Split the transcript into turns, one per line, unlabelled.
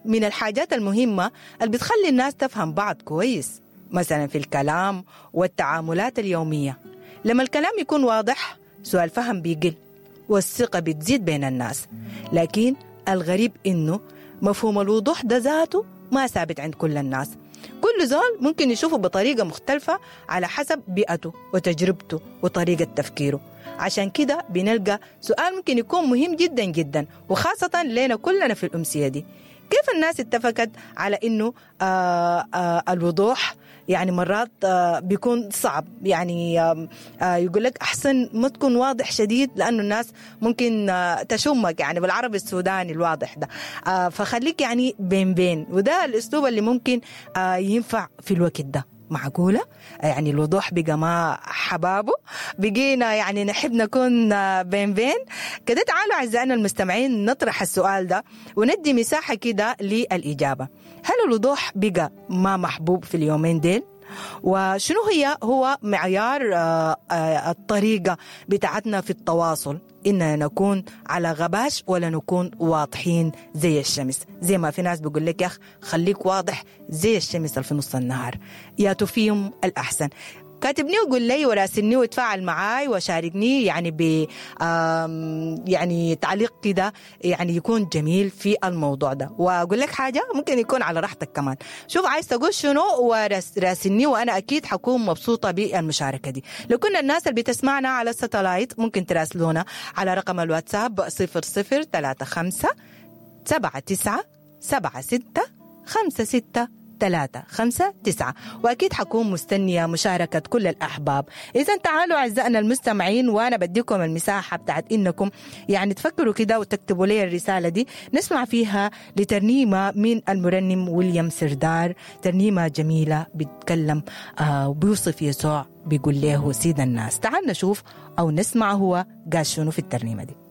من الحاجات المهمة اللي بتخلي الناس تفهم بعض كويس، مثلا في الكلام والتعاملات اليومية. لما الكلام يكون واضح سوء الفهم بيقل والثقة بتزيد بين الناس. لكن الغريب إنه مفهوم الوضوح ده ذاته ما ثابت عند كل الناس. كل زول ممكن يشوفه بطريقة مختلفة على حسب بيئته وتجربته وطريقة تفكيره. عشان كده بنلقى سؤال ممكن يكون مهم جدا جدا، وخاصة لنا كلنا في الأمسية دي: كيف الناس اتفقت على انه الوضوح يعني مرات بيكون صعب؟ يعني يقول لك احسن ما تكون واضح شديد لانه الناس ممكن تشمك، يعني بالعربي السوداني الواضح ده، فخليك يعني بين بين، وده الاسلوب اللي ممكن ينفع في الوقت ده. معقولة؟ يعني الوضوح بقى ما حبابه، بقينا يعني نحب نكون بين بين كده. تعالوا أعزائنا المستمعين نطرح السؤال ده وندي مساحة كده للإجابة. هل الوضوح بقى ما محبوب في اليومين ديل؟ وشنو هو معيار الطريقة بتاعتنا في التواصل؟ إننا نكون على غباش ولا نكون واضحين زي الشمس؟ زي ما في ناس بيقول لك يا أخ خليك واضح زي الشمس في نص النهار. يا فيهم الأحسن؟ كاتبني وقول لي وراسلني وتفاعل معاي وشاركني يعني ب يعني تعليق كده يعني يكون جميل في الموضوع ده. واقول لك حاجه، ممكن يكون على راحتك كمان، شوف عايز تقول شنو وراسلني، وانا اكيد حكون مبسوطه بالمشاركه دي. لو كنا الناس اللي بتسمعنا على الستلايت ممكن تراسلونا على رقم الواتساب 0035 79 76 56 3 5 9، وأكيد حكون مستنية مشاركة كل الأحباب. إذا تعالوا أعزائنا المستمعين، وأنا بديكم المساحة بتاعت إنكم يعني تفكروا كده وتكتبوا لي الرسالة دي، نسمع فيها لترنيمة من المرنم ويليام سردار، ترنيمة جميلة بيتكلم وبيوصف يسوع، بيقول له سيد الناس. تعال نشوف أو نسمع هو قال شنو في الترنيمة دي.